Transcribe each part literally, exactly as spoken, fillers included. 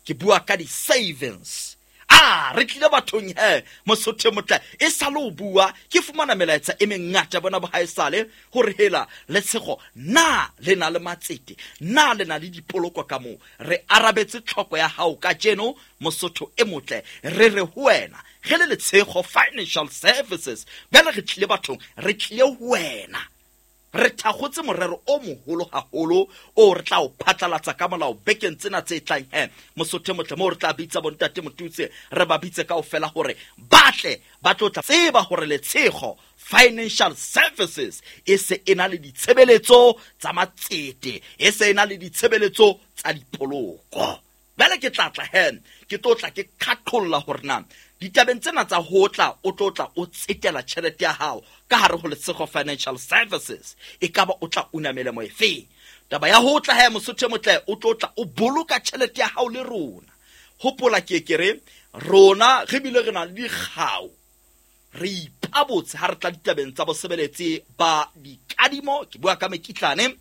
Ke bua ka di-savings. A re tlile bathong he, Mosotho motle, e sa le o bua ke fumana melaetsa e mengata bona bohaesale hore hela Letshego, na le na le matsete, na le na le dipoloko ka moo? Re arabetse tlhoko ya hao kajeno, Mosotho e motle. Re re ho wena ge le Letshego Financial Services, bjale re tlile bathong, re tlile ho wena, re thakgotse morero o moholo haholo o re tla o phatlalatsa ka molao bekeng tsena tse tlang he, Mosotho motle, moo re tla bitsa bontate Motutse, re ba bitse kaofela hore ba tle ba tlo tla tseba hore Letshego Financial Services e se e na le ditshebeletso tsa matsete, e se e na le ditshebeletso tsa dipoloko. Bjale ke tla tla he, ke tlo tla ke qhaqholla hore na ditabeng tsena tsa ho tla o tlo tla o tsetela tjhelete ya hao ka hare ho Letshego Financial Services, e kaba o tla una melemo efe. Taba ya ho tla he, Mosotho motle, o tlo tla o boloka tjhelete ya hao le rona. Hopola ke ke re rona re bile re na le dikgau, re ipabotse ha re tla ditabeng tsa bosebeletsi ba dikadimo. Ke bua ka mekitlane,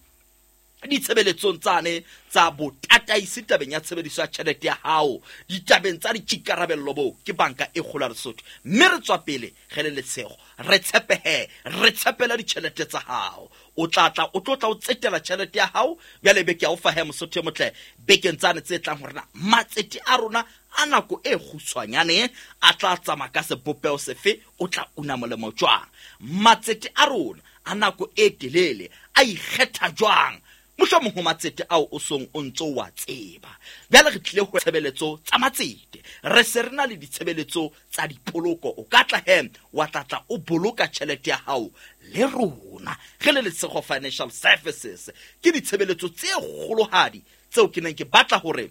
ditshebeletsong tsane tsa botataisi tabeng ya tshebediso ya tjhelete ya hao, ditabeng tsa dikikarabello bo ke Banka e Kgolo ya Lesotho. Mme re tswa pele ge le Letshego, re tshepehe, re tshepela ditjhelete tsa hao. O tla tla o tlo tla o tsetela tjhelete ya hao. Bjale be ke a o fa he, Mosotho e motle, bekeng tsane tse tlang hore na matsete a rona a nako e kgutshwanyane a tla tsamaya ka sebopeho sefe, o tla una molemo jwang, matsete a rona a nako e telele a ikgetha jwang, mohlomong ho matsete ao o song o ntso wa tseba. Bjale re tlile ho tshebeletso tsa matsete, re se re na le ditshebeletso tsa dipoloko. O ka tla he wa tla tla o boloka tjhelete ya hao le rona ge le Letshego Financial Services. Ke ditshebeletso tse kgolohadi tseo ke neng ke batla hore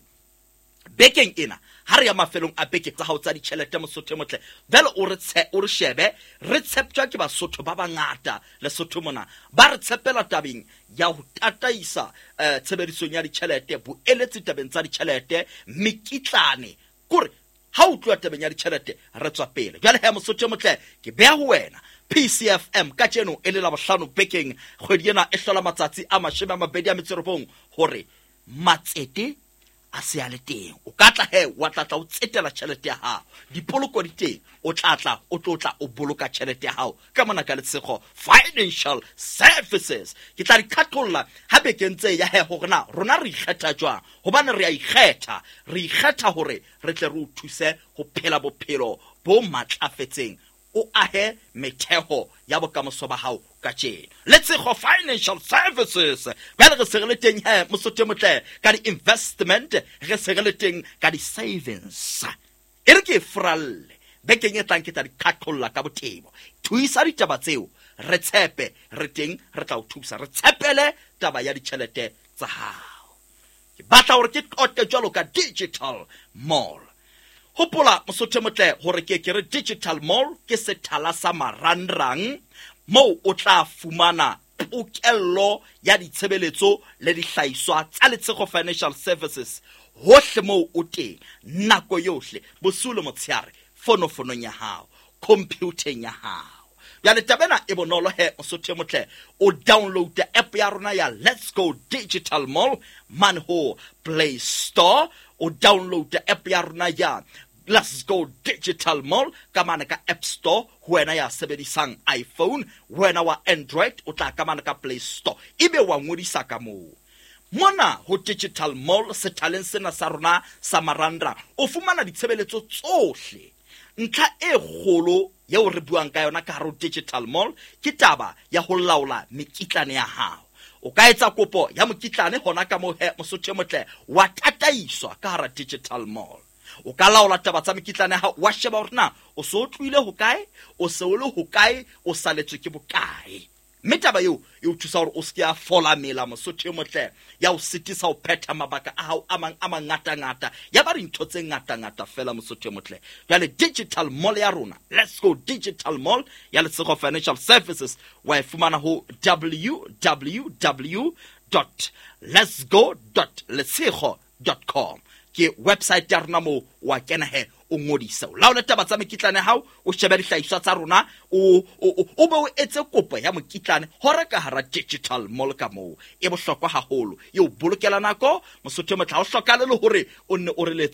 bekeng ena ha re ya mafelong a beke tsa hao tsa ditjhelete, Mosotho motle, jwale o re o re shebe. Re tsheptjwa ke Basotho ba bangata Lesotho mona, ba re tshepela tabeng ya ho tataisa eh, tshebedisong ya ditjhelete, boeletsi tabeng tsa ditjhelete, mekitlane, kore ha o tloha tabeng ya ditjhelete re tswa pele. Jwale he, Mosotho motle, ke beha ho wena P C F M kajeno e le Labohlano bekeng kgwedi ena e hlola matsatsi a mashome a mabedi a metso e robong hore matsete a se a le teng. O ka tla he wa tla tla o tsetela tjhelete ya hao, dipoloko di teng, o tla tla o tlo tla o boloka tjhelete ya hao ka mona ka Letshego Financial Services. Ke tla di qhaqholla ha bekeng tse ya he hore na rona re ikgetha jwang, hobane re a ikgetha, re ikgetha hore re tle re o thuse ho phela bophelo bo matlafetseng, o ahe metheo ya bokamoso ba hao kajeno. Letshego Financial Services, bjale re se re le teng he, Mosotho motle, ka di-investment, re se re le teng ka di-savings. E re ke e furalle bekeng e tlang, ke tla di qhaqholla ka botebo. Thuisa ditaba tseo, re tshepe, re teng, re tla o thusa, re tshepele taba ya ditjhelete tsa hao. Ke batla hore ke qoqe jwalo ka Digital Mall. Hopola, Mosotho motle, hore ke ke re Digital Mall ke sethala sa marangrang moo o tla fumana pokello ya ditshebeletso le dihlahiswa tsa Letshego Financial Services hohle moo o teng, nako yohle, bosiu le motshehare, fonofonong ya hao, computer-eng ya hao. Bjale taba ena e bonolo he, Mosotho motle, o download app ya rona ya Let's Go Digital Mall mane ho Play Store, o download app ya rona ya Let's Go Digital Mall ka mane ka App Store, ho wena ya sebedisang iPhone, wena wa Android o tla ka mane ka Play Store, ebe wa ngodisa ka moo. Mona ho Digital Mall sethaleng sena sa rona sa marangrang o fumana ditshebeletso tsohle. Ntlha e kgolo eo re buang ka yona ka hare ho Digital Mall ke taba ya ho laola mekitlane ya hao. O ka etsa kopo ya mokitlane hona ka moo he, Mosotho motle, wa tataiswa ka hara Digital Mall. O ka laola taba tsa mekitlane ya hao, wa sheba hore na o so o tlohile hokae, o se o le hokae, o saletswe ke bokae. Mme taba eo e o thusa hore o se ke ya fola mela, Mosotho motle, ya o sitisa ho phetha mabaka a hao a mang a mangatangata, ya ba dintho tse ngatangata fela, Mosotho motle. Jwale Digital Mall ya rona, Let's Go Digital Mall ya Letshego Financial Services, wa e fumana ho w w w dot lets go dot letshego dot com. Ke website ya rona moo wa kena he, o ngodise, o laole taba tsa mekitlane ya hao, o shebe dihlahiswa tsa rona, o, o, o, o be o etse kopo ya mokitlane hore ka hara Digital Mall ka moo. E bohlokwa haholo, e o bolokela nako, Mosotho motle, ha o hlokahale le hore o nne o re letse